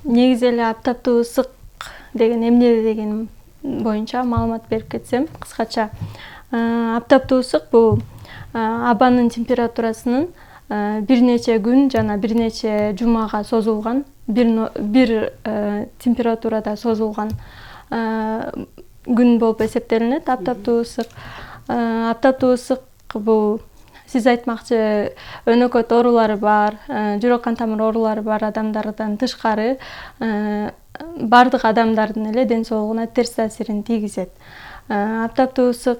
Негизи эле аптаптуу ысык деген эмне деген боюнча маалымат берип кетсем кыскача. Аптаптуу ысык бул абанын температурасынын бир нече күн жана бир нече жумага созулган, бир температурада созулган күн болуп эсептелинет аптаптуу ысык. Аптаптуу ысык бул сиз айтмакчы өнөкөт оорулары бар, жүрөк кан тамыр оорулары бар адамдардан тышкары бардык адамдардын эле ден соолугуна терс таасирин тийгизет. Аптаптуу ысык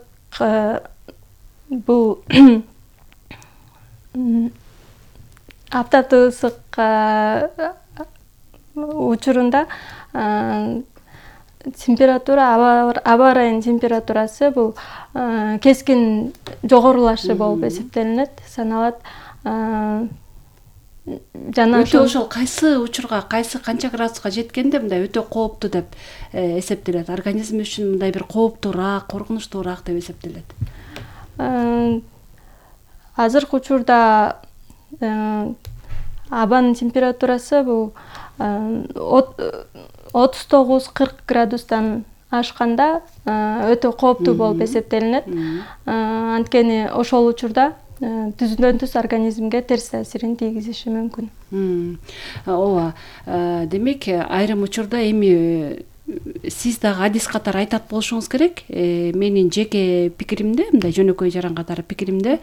бул аптаптуу ысык учурунда температура, аба ырайынын температурасы бул кескин жогорулашы болуп эсептелинет, саналат. Жана өтө ошол кайсы учурга, кайсы канча градуска жеткенде мындай өтө кооптуу деп эсептелет. Организм үчүн мындай бир кооптуураак, коркунучтуураак деп эсептелет. Азыркы учурда абанын температурасы бул 39-40 градустан ашканда өтө кооптуу болуп эсептелинет. Анткени ошол учурда түздөн түз организмге терс таасирин тийгизиши мүмкүн. Ооба. Демек, айрым учурда эми сиз дагы адис катары айтат болушуңуз керек. Менин жеке пикиримде, мындай жөнөкөй жаран катары пикиримде,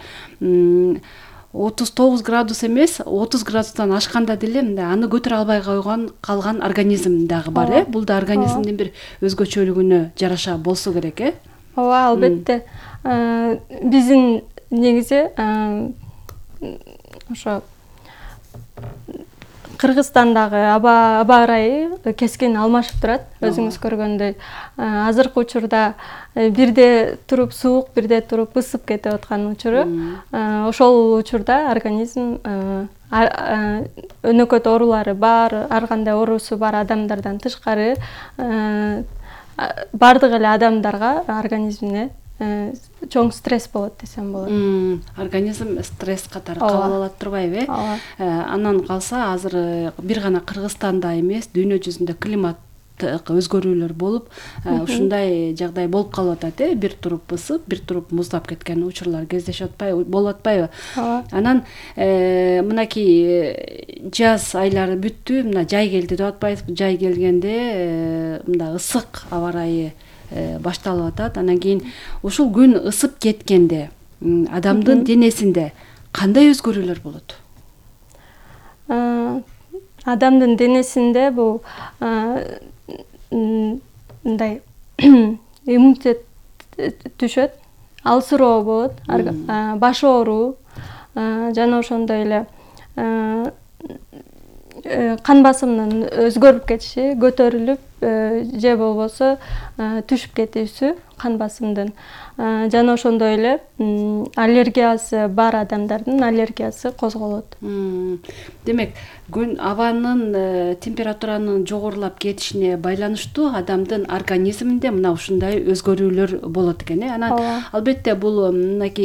39 градус эмес, 30 градустан ашканда деле мындай аны көтөрө албай калган организм дагы бар, Бул да организмдин бир өзгөчөлүгүнө жараша болсо керек, Ооба, албетте. Биздин негизи ошо Кыргызстандагы аба ырайы кескин алмашып турат, өзүңүз көргөндөй. Азыркы учурда бирде туруп суук, бирде туруп ысып кетип аткан учуру. Ошол учурда организм өнөкөт оорулары бар, ар кандай оорусу бар адамдардан тышкары бардык эле адамдарга организмине чоң стресс болот десем болот. Организм стресс катары кабыл алат турбайбы? Андан калса азыр бир гана Кыргызстанда эмес, дүйнө жүзүндө климат өзгөрүүлөр болуп, ушундай жагдай болуп калып атат, бир туруп ысып, бир туруп муздап кеткен учурлар кездешип болуп атпайбы? Анан мынакей жаз айлары бүттү, мына жай келди деп атпайбызбы? Жай келгенде мындай ысык аба ырайы башталып атат. Анан кийин ушул күн ысып кеткенде адамдын денесинде кандай өзгөрүүлөр болот? Адамдын денесинде бул мындай иммунитет түшөт, алсыроо болот, баш ооруу жана ошондой эле кан басымынын өзгөрүп кетиши, көтөрүлүп же болбосо түшүп кетүүсү кан басымдын. Жана ошондой эле аллергиясы бар адамдардын аллергиясы козголот. Демек, күн абанын температуранын жогорулап кетишине байланыштуу адамдын организминде мына ушундай өзгөрүүлөр болот экен. Анан албетте бул мынакей